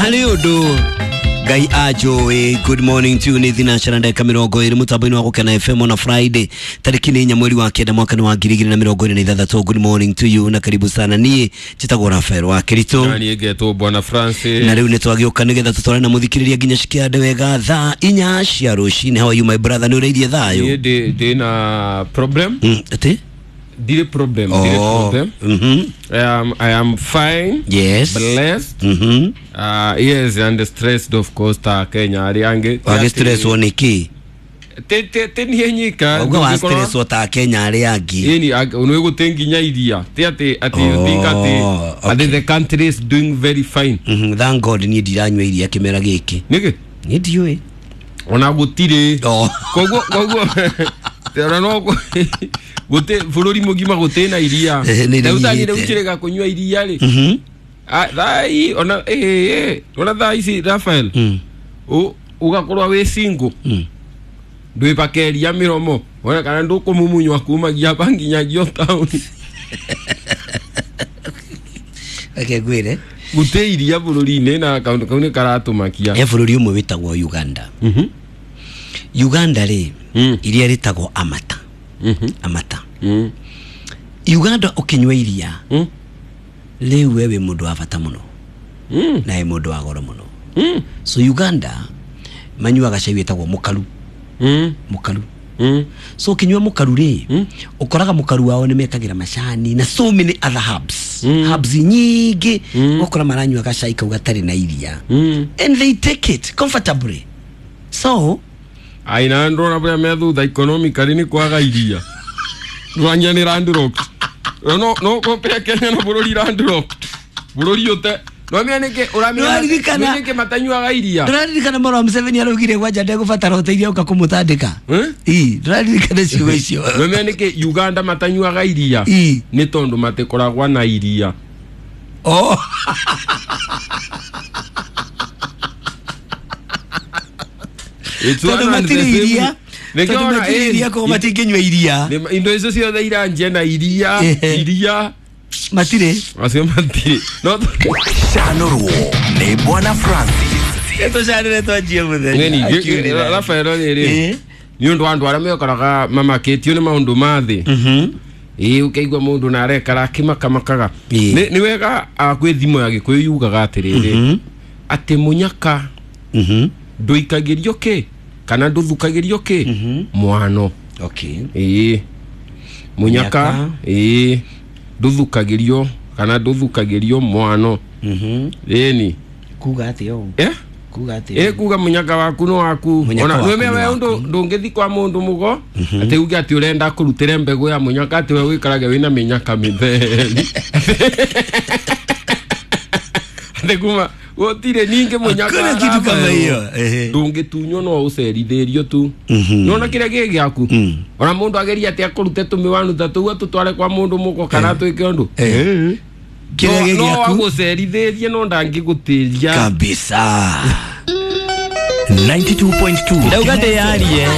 Harĩ ũndũ Ngai anjũĩ. Good morning to you. Nĩ thinacara ndagĩka 20 mũtambo-inĩ wa Gũkena FM on a Friday tarĩki nĩ 4 mweri wa 9 mwaka nĩ wa 2026. Good morning to you na karibu sana. Niĩ njĩtagwo Rafael wa Kĩritũ Na niĩ ngetwo Bwana Francis. Na rĩu nĩ twagĩũka nĩgetha tũtwarane na mũthikĩrĩria nginya cikĩande wega thaa 4 cia rũcinĩ. How are you my brother? Nĩ ũrĩirie thayũ? Niĩ ndĩ na problem. Atĩ? Ndirĩ problem, ndirĩ problem. I am fine. Yes. Blessed. Yes, and stressed of course ta Kenya arĩa angĩ. Wagĩ stresswo nĩ kĩ? Ti niĩ nyika. Wauga wa stresswo ta Kenya arĩa angĩ. Ĩni nĩ gũtĩ nginya iria. Ti atĩ you think atĩ atĩ the country is doing very fine. Thank God niĩ ndiranyua iria kĩmera gĩkĩ. Nĩkĩ? Niĩ ndiũĩ. Ona gũtirĩ. Koguo ona no gũtĩ bũrũri mũgima gũtĩ na iria. Rĩu ta niĩ rĩu njĩrĩga kũnyua iria rĩ. Thaa hii ona ona thaa ici Rafael. Ũgakorwo wĩ single. Ndwĩpakeria mĩromo. Ona kana ndũkũmumunywa kumagia hapa nginyagia town. Reke ngwĩre. Gũtĩ iria bũrũri-inĩ na kaũndũ kau nĩ karatũmakia. He bũrũri ũmwe wĩtagwo Uganda. Uganda rĩ, iria rĩtagwo Amata. Amata. Uganda ũkĩnyua iria rĩu we wĩ mũndũ wa bata mũno. Na wĩ mũndũ wa goro mũno. So Uganda manyuaga cai wĩtagwo mũkaru. Mũkaru. So ũkĩnyua mũkaru rĩ, ũkoraga mũkaru wao nĩ mekagĩra macani na so many other herbs. Herbs nyingĩ. Ũgakora maranyua gacai kau gatarĩ na iria. And they take it comfortably. So aina ndona bũrĩa me thutha economically nĩ kwaga iria. Rwanya nĩ landlocked. No compare Kenya na bũrũri landlocked. Bũrũri ũte no nĩkĩ ũramenya nĩkĩ matanyuaga iria. Ndũraririkana mũrũ wa Museveni araugire gwanja ndegũbatara ũteithio ũka kũmũtandĩka. Ii, ndũraririkana ciugo icio. No nĩkĩ Uganda matanyuaga iria? Nĩ tondũ matikoragwo na iria. Oh. Tondũ matirĩ iria. Tondũ matirĩ iria koguo matingĩnyua iria. Indo icio ciothe iranjia na iria, iria. Matirĩ. Acio matirĩ. No Canũrwo nĩ Bwana Francis. Tũcanĩre twanjie mũthenya. Ng'eni, Rafael rĩrĩ. Nĩ ũndũ wa andũ arĩa mekoraga mamakĩtio nĩ maũndũ ma thĩ. Ĩĩ ũkaigua mũndũ na arekara akĩmakamakaga. Nĩ wega kwĩ thimo ya Gĩkũyũ yugaga atĩrĩrĩ. Atĩ mũnyaka ndũikagĩrio kĩ kana ndũthukagĩrio kĩ mwano. Okay. Ĩĩ. Mũnyaka ĩĩ ndũthukagĩrio kana ndũthukagĩrio mwano. Ĩni. Kuga atĩa ũũ? Kuga atĩa? Ĩ kuga mũnyaka waku no waku. Ona nĩwe we ũndũ ndũngĩthi kwa mũndũ mũgo atĩ uge atĩ ũrenda kũrutĩre mbegũ ya mũnyaka atĩ we wĩikarage wĩna mĩnyaka mĩtheri. Atĩ kuma gũtirĩ ningĩ mũnyaka. Hakuna kitu kama hiyo. Ndũngĩtunywo no ũcerithĩrio tu. Nĩwona kĩrĩa gĩ gĩaku. Ona mũndũ ageria atĩ akũrute tũmĩwanu ta tũu atũtware kwa mũndũ mũgo kana atwĩke ũndũ. Kĩrĩa gĩ No gĩaku agũcerithĩrie no ndangĩgũtĩria. Kabisa. 92.2 Ndauga ndĩyarie.